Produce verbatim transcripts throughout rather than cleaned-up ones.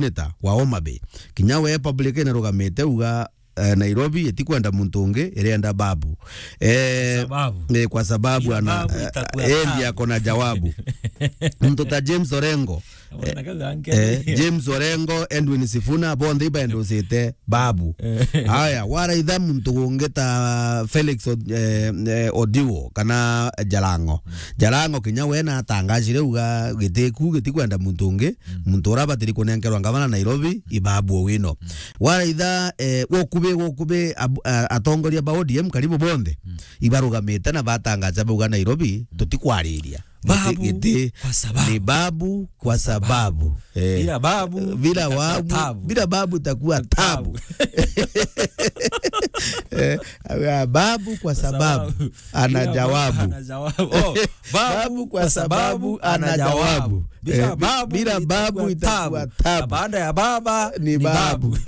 senator wa Homa Bay. Kinya we public inarugamite uga, eh, Nairobi itikwenda muntu ungi, irienda Babu. Eh, Sababu. Eh, kwa sababu Bila ana, Babu itakuwa eh, endi tabu. Ako na jawabu. Muntu ta James Orengo, Wana kaga nke. Eh, James Orengo, Edwin Sifuna, bonthe ibaendosite Babu. Eh. Aya, waraitha muntu ungi ta Felix Od-, eh, eh, Odiwo kana Jalango. Jalango kinya we natangajire uga gitiku gitikwenda muntu ungi, muntu ura abatiri kunenkerwa ngavana Nairobi, i Babu Owino. Waraitha, eh, wokubi, wokubi ab-, a-, atongoria ba O D M karibu bonthe, ibarugamite na batangaja bauga Nairobi, tutikwariria. Babu Giti, giti. Kwa sababu. Ni Babu kwa sababu. Eh. Bila Babu Bila itakuwa Babu, tabu. Bila Babu itakuwa tabu. Tabu. Eh, Babu kwa sababu. Sababu. Ana Bila jawabu. Babu ana jawabu. Oh, Babu kwa sababu ana jawabu. Bila Eh, bi-, Babu bila Babu itakuwa itakuwa tabu. Tabu. Na baada ya baba Ni ni Babu. Babu.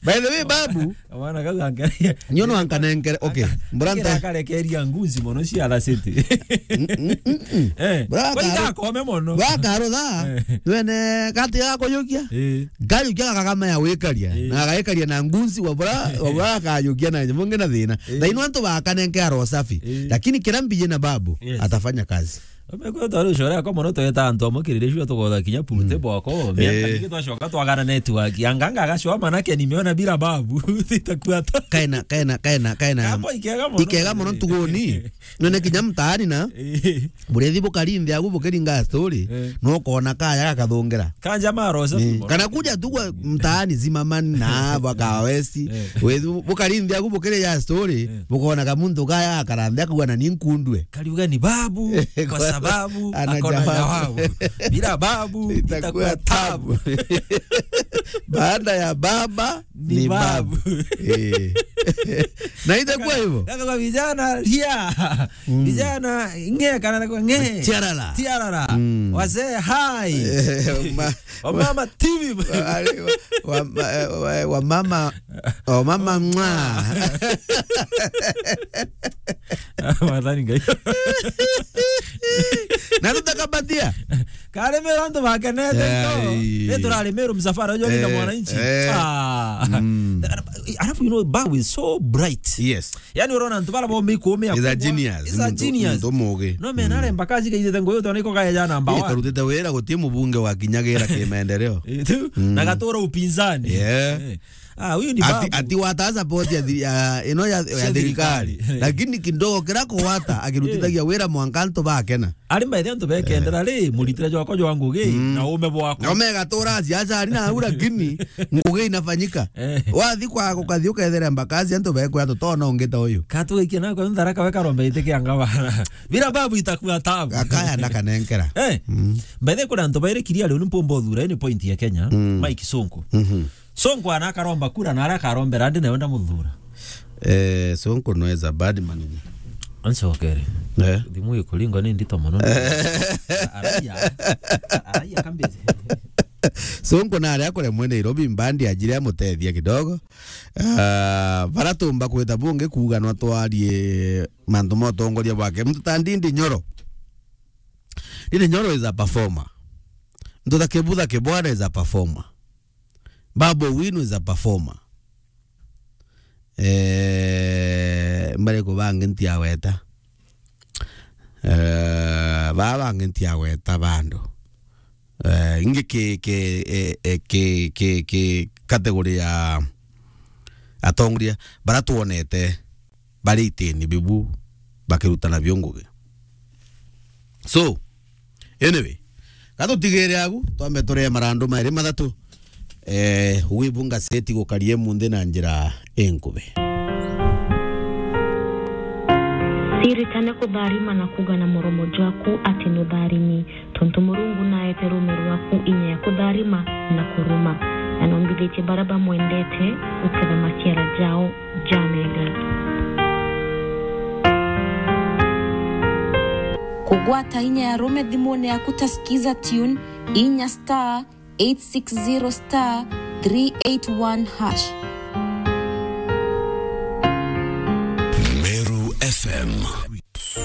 By the way, Babu, Mwana kau angalia. Nyono ankanenkere, okay. Mbura nta- akarekeria nguzi mono cia City. Mm, mm, mm, mm. Eh, Bra kwa karu-, iga akome mono. Bra karutha, Eh. Wene kati ya kuyukia. Eh. Ngayukia gakagama ya wikaria. Eh. Na agaikaria na nguzi wa bra, wa bra akayukia na nyamunge na thina. Eh. Na ino antu bakanenke aro safi. Eh. Lakini kira mbije na Babu, Yes. Atafanya kazi. Omeko twari ucore ako mono tweta antu amwe kirire cio tugotha kinya purute bwako. Miaka Eh. Mingi twacoka twagana network. Anganga agacwa manake nimeona bila Babu. Itakuwa ta- Kaena, kaena, kaena, kaena. Kambo ikega mono. Ikega mono ntuguni. None kinya mtaani na. Eh. Burethi bukari nthi agu bukiringa story. Eh. No kona kaya gakathungira. Kanja maro safi mono. Kana kuja tu kwa mtaani Zimmerman na baka West. Eh. Wethu bukari nthi agu bukiri ya story. Eh. Bukona kamuntu kaya akarambia kuwa na ninkundwe. Kariuga ni Babu, kwa Kwa sababu ana akona jawabu. Jawabu. Bila Babu, itakuwa itakuwa tabu. Tabu. Baada ya baba, Ni ni Babu. Babu. Eh. Na itakuwa hivyo. Kaka kwa vijana, ria. Mm. Vijana, nge, kana kwa nge. Tiarara. Tiarara. Mm. Wazee, hai. Eh, ma-, Wamama, T V. Wa-, wa-, wa-, wa-, wamama, wamama, mwa. Mwathani Ngai. Na tutakabatia. Karemera antu bakenete Ai. Nto. Ni turaremera msafara, unajua, Eh, mwananchi. Eh. Ah. Mm. Alafu, you know, Babu is so bright. Yes. Yani, urona antu bara bo mikumi He's a genius. He's a Muntu, genius. Muntu mugi. No, man, mm, aremba kazi kaithete nguyu tona iko kaya ja namba one. Karutite wira guti mubunge wa kinyagira ki maendeleo. Eh, tu, mm, na gatura upinzani. Yeah. Eh. Ah, huyu ni Babu. Ati, ati wata support ya thiri-, ya, ino ya, ya thirikari. Cia thirikari. Lakini kidogo kira kuwata, akirutithagia wira mwanka antu bakena. Ari mbaithe antu bekendera ri, muritire jwako jwa ngugi, mm, na ume bwako. Na ume gatura siasa ari na au, lakini ngugi inafanyika. Eh. Wathi kwa gukathi ukethera mbakazi antu bekwa tutona ungi ta uyu. Katugikia nako ntharaka we karombe itikia ngabana. Bila Babu itakuwa tabu. Akaya ndakanenkera. Eh. Mm. Mbaithe kuna antu bairi kiria riu ni mpombo thura, ni point ya Kenya. Mm. Mike Sonko. Mhm. Sonko ana akaromba kura na ara akarombera ndi nawe ndamuthura. Eh, Sonko no is a bad manager. Ansokere. Eh. Thimu ikuringo ni ndito mono. Araia. Araia kambezi. Sonko na aria kure mwe Nairobi mbandi ajire amutethia kidogo. Ah, bara tumba kwita bungi kuuga no twarie mantu ma utongoria bwake. Muntu ta Ndindi Nyoro. Ndindi Nyoro is a performer. Muntu ta Kibutha Kibwana is a performer. Babu Owino is a performer. Eh, mbariku bangi ntiaweta? Eh, baa bangi ntiaweta bandu. Eh, ingi ki, ki, eh, eh, ki, ki, ki category ya atongoria bara twonete bari itini bibu bakirutana bio ngugi. So, anyway, gatutigire agu, twambe turee marandu mairi mathatu. Eh, wibunga seti gukarie munthi na njira inkubi. Ciritane kutharima na kuuga na muromo jwaku ati nutharimi, tontu Murungu naete ruume rwaku inya ya kutharima na kuruma, na nombithitie baria bamwendete guketha maciara jao. Jamega. Kugwata inya ya rume thimune yaku ta Skiza Tune, inya star eight six zero star three eight one hash.